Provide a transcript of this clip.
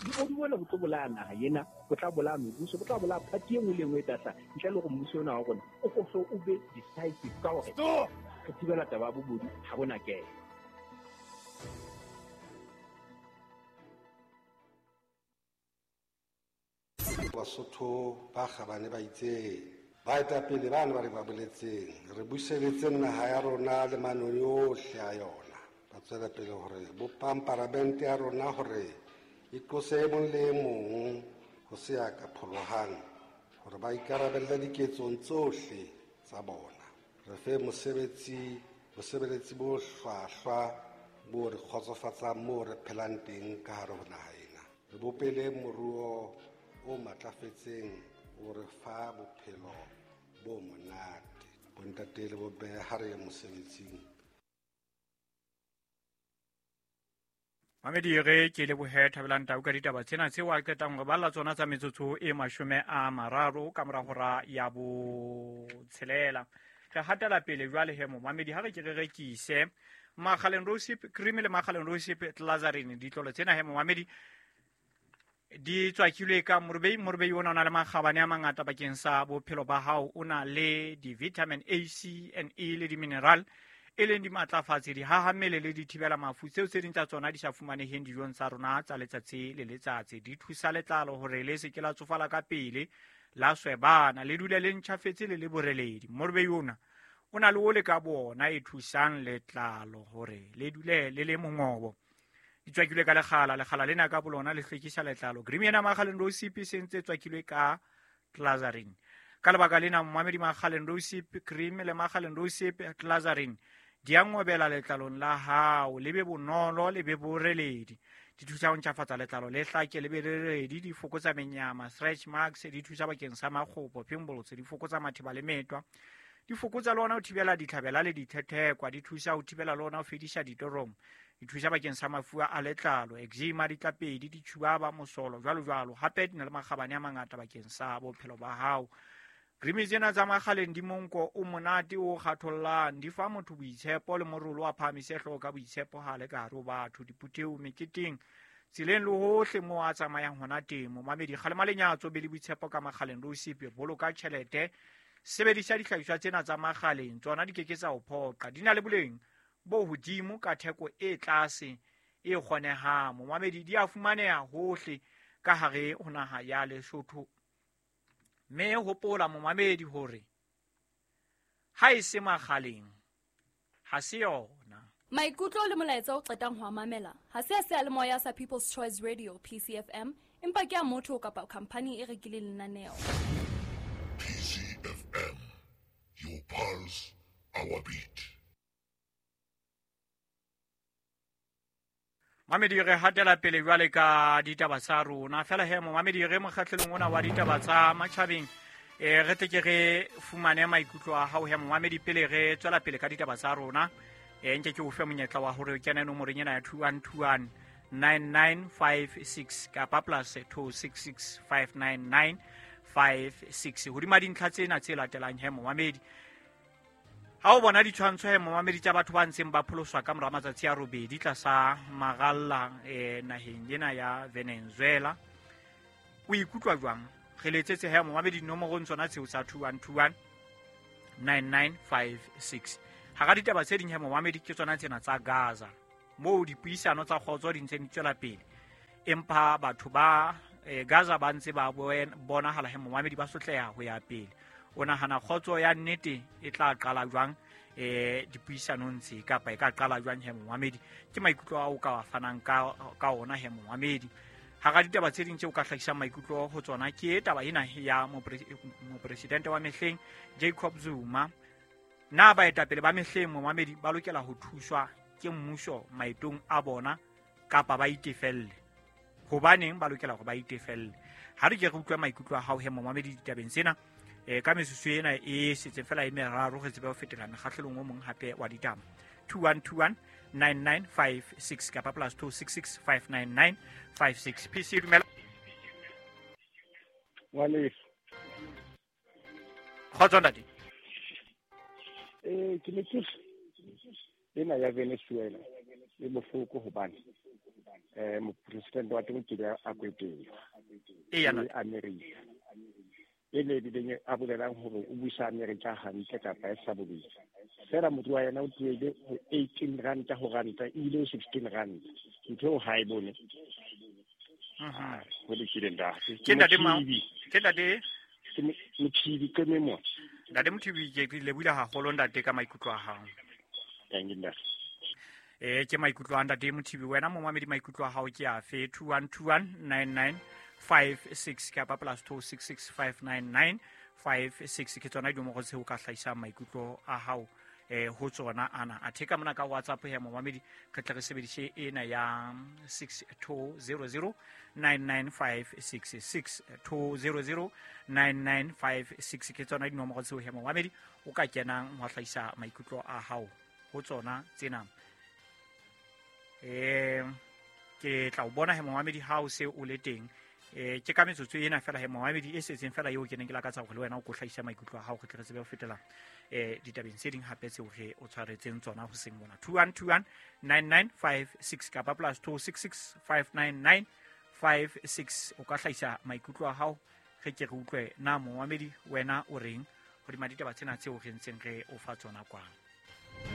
Bobodu bona bo tlo bolaya naha ena, bo tla bolaya mebuso, bo tla bolaya party e nngwe le e nngwe e tla hlaha ntle le hore mmuso ona wa rona o ko hle o be decisive ka hore re thibela taba ya bobodu ha bona kena. Basotho ba kgabane ba itseng baetapele bane ba re ba boletseng re buseletseng naha ya rona le manoni ohle a yona. Ba tswela pele hore bopang paramente ya rona hore e qose e mong le e mong ho se ya ka pholohang hore ba ikarabelle diketsong tsohle tsa bona. Re fe mosebetsi bosebeletsi bo hlwahlwa bo re kgotsofatsang moo re phelang teng ka hare ho naha ena. Re bopele moruo o matlafetseng o re fa bophelo bo monate. Bontate le bomme ha re ye mosebetsing. Mamedi re ke lebohe Thabelang Tau ka ditaba tsena tseo a qetang re balla tsona tsa metsotso e 30 ka mora hora ya 6. Re hatela pele jwale he momamedi ha re ke re rekise Makgaleng Rosip Cream le Makgaleng Rosip Glazarin. Ditlolo tsena he momamedi di tswakilwe ka morobei. Morobei ona o na le makgabane a mangata bakeng sa bophelo ba hao. O na le di-vitamin A, C and E le di-mineral e leng dimatlafatsi, dihahammele le dithibela mafu tseo tse ding tsa tsona di sa fumaneheng dijong tsa rona tsa letsatsi le letsatsi. Di thusa letlalo hore le se ke la tsofala ka pele, la swebana, le dule le ntjhafetse le le boreledi. Morobei ona o na le ole ka bona e thusang letlalo hore le dule le le mongobo. Di tswakilwe ka lekgala, lekgala lena ka bolona le hlwekisa letlalo. Cream ena Makgaleng Rosip e sentse tswakilwe ka Glazarin. Ka lebaka lena momamedi Makgaleng Rosip Cream le Makgaleng Rosip Glazarin di a ngobela letlalong la hao, le be bonolo, le be boreledi. Di thusa ho ntjhafatsa letlalo le hlake le be boreledi, di fokotsa menyama, stretch marks, di thusa bakeng sa makgopo, pimples, di fokotsa matheba le metwa. Di fokotsa le ona ho thibela ditlhabela le dithethekwa, di thusa ho thibela le ona ho fedisa ditoromo. Di thusa bakeng sa mafu a letlalo, eczema, ditlapedi, ditšhubaba, mosolo, jwalo jwalo. Hape di na le makgabane a mangata bakeng sa bophelo ba hao. Cream tsena tsa Makgaleng di monko o monate o kgathollang, di fa motho boitshepo le morolo wa phahamise hlooho ka boitshepo ha le ka hare ho batho, diphuthehong, meketeng, tseleng le hohle moo a tsamayang hona teng. Momamedi, kgalema lenyatso, be le boitshepo ka Makgaleng Rosip, boloka tjhelete, sebedisa dihlahiswa tsena tsa Makgaleng, tsona di ke ke tsa o phoqa. Di na le boleng bo hodimo ka theko e tlase e kgonehang. Momamedi, di a fumaneha hohle ka hare ho naha ya Lesotho. Mme hopola momamedi hore ha e se Makgaleng ha se yona. Maikutlo le molaetsa o qetang ho a mamela ha se a seyalemoya sa People's Choice Radio PCFM, empa ke a motho kapa khampani e rekileng lenaneo. PCFM, your pulse, our beat. Mamedi, re hatela pele jwale ka ditaba tsa rona. Fela he momamedi, re mokgahlelong ona wa ditaba tsa matjhabeng, re tle ke re fumane maikutlo a hao he momamedi pele re tswela pele ka ditaba tsa rona. Nke ke o fe monyetla wa hore o kene nomorong ena ya 2121 9956 kapa plus 266 599 56. Hodima dintlha tsena tse latelang he momamedi, ha o bona ditshwantsho he momamedi tsa batho ba ntseng ba pholoswa ka mora matsatsi a robedi tlasa maralla naheng ena ya Venezuela, o ikutlwa jwang? Re letsetse he momamedi dinomorong tsona tseo tsa 2121 9956. Hara ditaba tse ding he momamedi ke tsona tsena tsa Gaza, moo dipuisano tsa kgotso di ntseng di tswela pele, empa batho ba Gaza ba ntse ba bonahala he momamedi ba sotleha ho ya pele. O nahana kgotso ya nnete e tla qala jwang dipuisanong tse, kapa e ka qala jwang he momamedi? Ke maikutlo ao ka wa fanang ka ona he momamedi. Hara ditaba tse ding tseo ka hlahisang maikutlo ho tsona ke taba ena ya mopresidente wa mehleng Jacob Zuma. Na baetapele ba mehleng momamedi ba lokela ho thuswa ke mmuso maetong a bona kapa ba itefelle? Hobaneng ba lokela hore ba itefelle? Ha re ke re utlwe maikutlo a hao he momamedi ditabeng tsena. Ka metsotso ena e setseng fela e meraro re tsebe ho fetela mekgahlelong o mong hape wa ditaba. 2121 9956 kapa plus 266 599 56. PC, dumela. Ngwaneso. Kgotso ntate. Ke ne ke ena ya Venezuela e bohloko hobane Mopresidente wa teng kile a kwetela. Eya ntate. America. E le bileng a bolelang hore o busa America hantle kapa e sa bobedi. Fela motho wa yena o tlohele ho 18 ranta ho ranta e ile ho 16 ranta. Ntho eo ha e bone. Ho lokile ntate. Ke ntate mang? Ke ntate? Ke Mothibi ke memo. Ntate Mothibi, ke lebohile haholo ntate ka maikutlo a hao. Thank you ntate. Ke maikutlo a ntate Mothibi. Wena momamedi maikutlo a hao ke afe? 21219956 kapa plus 26659956 ke tsona dinomoro tseo ka hlahisang maikutlo a hao ho tsona ana. Athe ka mona ka WhatsApp he momamedi re tle re sebedise ena ya 62009956 62009956 ke tsona dinomoro tseo he momamedi o ka kenang ho hlahisa maikutlo a hao ho tsona tsena. Ke tla o bona he momamedi ha o se o le teng. Ke ka metsotso ena fela he momamedi e setseng fela eo ke neng ke lakatsa hore le wena o ko hlahisa maikutlo a hao re tle re tsebe ho fetela ditabeng tse ding hape tseo re o tshwaretseng tsona ho seng mona. 21219956 kapa plus 26659956 o ka hlahisa maikutlo a hao re ke re utlwe na momamedi wena o reng hodima ditaba tsena tseo re ntseng re o fa tsona kwano.